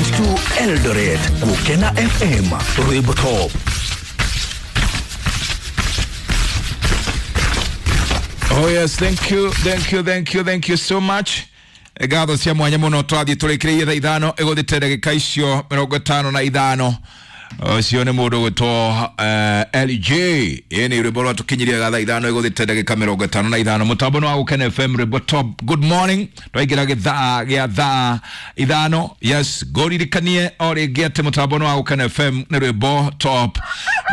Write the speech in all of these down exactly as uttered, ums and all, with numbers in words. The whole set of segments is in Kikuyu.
point two Eldoret. Gukena F M Rwimbo Top. Oh yes, thank you, thank you, thank you, thank you so much. Ngatho cia mwanya muno twathiĩ tũrĩkĩrĩirie thaa ithano ĩgũthĩte ndagĩka icio mĩrongo ĩtano na ithano. Ũcio nĩ mũndũ ũgwĩtwo L J. Ĩĩ nĩ rwĩmbo rwatũkinyirie thaa ithano ĩgũthĩte ndagĩka mĩrongo ĩtano na ithano. Mũtambo nĩ wa Gũkena F M Rwĩmbo Top. Good morning. Twaingĩra gĩthaa gĩa thaa ithano. Yes, ngũririkanie o rĩngĩ atĩ mũtambo nĩ wa Gũkena F M nĩ rwĩmbo top.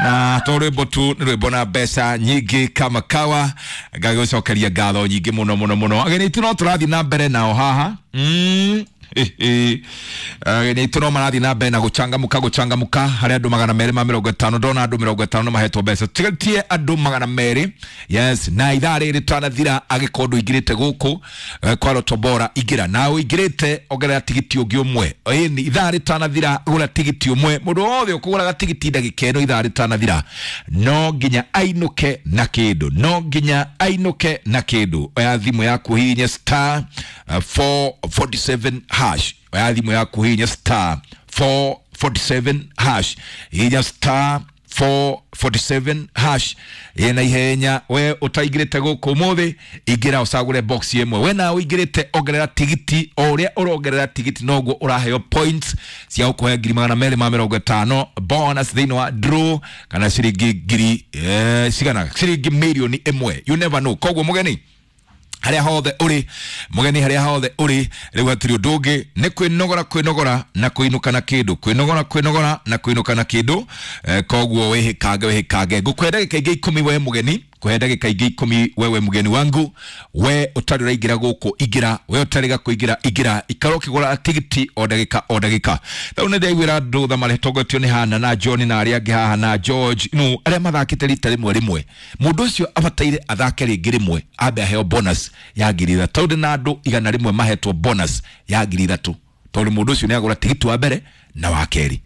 Na to rwĩmbo tu nĩ rwĩmbo na mbeca nyingĩ kama kawa. Ngagĩgũcokeria ngatho nyingĩ mũno mũno mũno. Ageni aitũ no tũrathiĩ na mbere nao haha. Mm. Ageni aitũ no marathiĩ na mbere na gũcangamũka gũcangamũka harĩ andũ magana merĩ ma mĩrongo ĩtano. Ndona andũ mĩrongo ĩtano nĩ mahetwo mbeca. Tigatie andũ magana merĩ. Yes, na ithaa rĩrĩ rĩtanathira angĩkorwo ndũingĩrĩte gũkũ kwa Lotto Bora ingĩra. Na ũingĩrĩte ongerera tigiti ũngĩ ũmwe. Ĩni ithaa rĩtanathira gũra tigiti ũmwe. Mũndũ wothe ũkũgũraga tigiti ndagĩka ĩno ithaa rĩtanathira no nginya ainũke na kĩndũ. No nginya ainũke na kĩndũ. Oya thimũ yaku hihinya star four forty-seven hash. Oya thimũ yaku hihinya star four forty-seven hash. Hihinya star four forty-seven hash. Ĩna ihenya we ũtaingĩrĩte gũkũ ũmũthĩ ingĩra ũcagũre box ĩmwe. We nawe ũingĩrĩte ongerera tigiti. O ũrĩa ũrongerera tigiti noguo ũraheo points cia gũkũhe ngiri magana merĩ ma mĩrongo ĩtano bonus thĩinĩ wa draw kana ciringi ngiri eh, cigana ciringi mirioni ĩmwe. You never know. Koguo mũgeni harĩa hothe ũrĩ, mũgeni harĩa hothe ũrĩ, rĩu hatirĩ ũndũ ũngĩ nĩ kwĩnogora kwĩnogora na kũinũka na kĩndũ. Kwĩnogora kwĩnogora na kũinũka na kĩndũ. Eh, koguo wĩhĩkange wĩhĩkange. Ngũkũhe ndagĩka ingĩ ikũmi we mũgeni, kũhe ndagĩka ingĩ ikũmi wewe mũgeni wangu. We ũtarĩ ũraingĩra gũkũ ingĩra, we ũtarĩ gakũingĩra ingĩra. Ikara ũkĩgũra tigiti o ndagĩka o ndagĩka. Rĩu nĩ ndaiguĩra andũ tha maretongoretio nĩ Hana na John na arĩa angĩ haha na George no arĩa mathakĩte rita rĩmwe rĩmwe. Mũndũ ũcio abataire athake rĩngĩ rĩmwe ambe aheo bonus ya ngiri ithatũ. Tondũ na andũ igana rĩmwe mahetwo bonus ya ngiri ithatũ tondũ mũndũ ũcio nĩagũra tigiti wa mbere na wa kerĩ.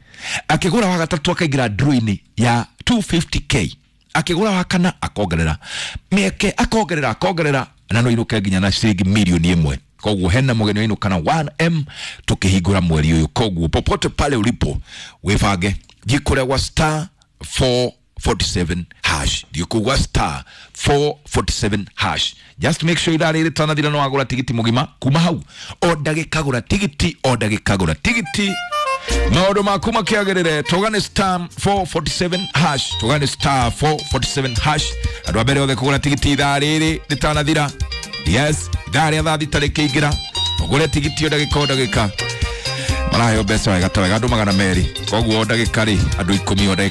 Akĩgũra wa gatatũ akaingĩra draw-inĩ ya two fifty K. Akĩgũra wa kana akongerera mĩeke akongerera akongerera na no inũke nginya na ciringi mirioni ĩmwe. Koguo hena mũgeni wainũka na one M tũkĩhingũra mweri ũyũ. Koguo popote pale ulipo wĩbange, thiĩ kũrĩa gwa star four forty-seven hash. Thiĩ kũu gwa star four forty-seven hash. Just make sure ithaa rĩrĩ rĩtanathira no wagũra tigiti mũgima kuma hau. O ndagĩka gũra tigiti, o ndagĩka gũra tigiti. Maũndũ maku makĩagĩrĩre. Tũgane star four forty-seven hash. Tũgane star four forty-seven hash. Andũ a mbere othe kũgũra tigiti ithaa rĩrĩ rĩtanathira. Yes, ithaa rĩa thaa thita rĩkĩingĩra ũgũre tigiti o ndagĩka o ndagĩka. Maraheo mbeca wega ta wega andũ magana merĩ. Koguo o ndagĩka rĩ andũ ikũmi o ndagĩka.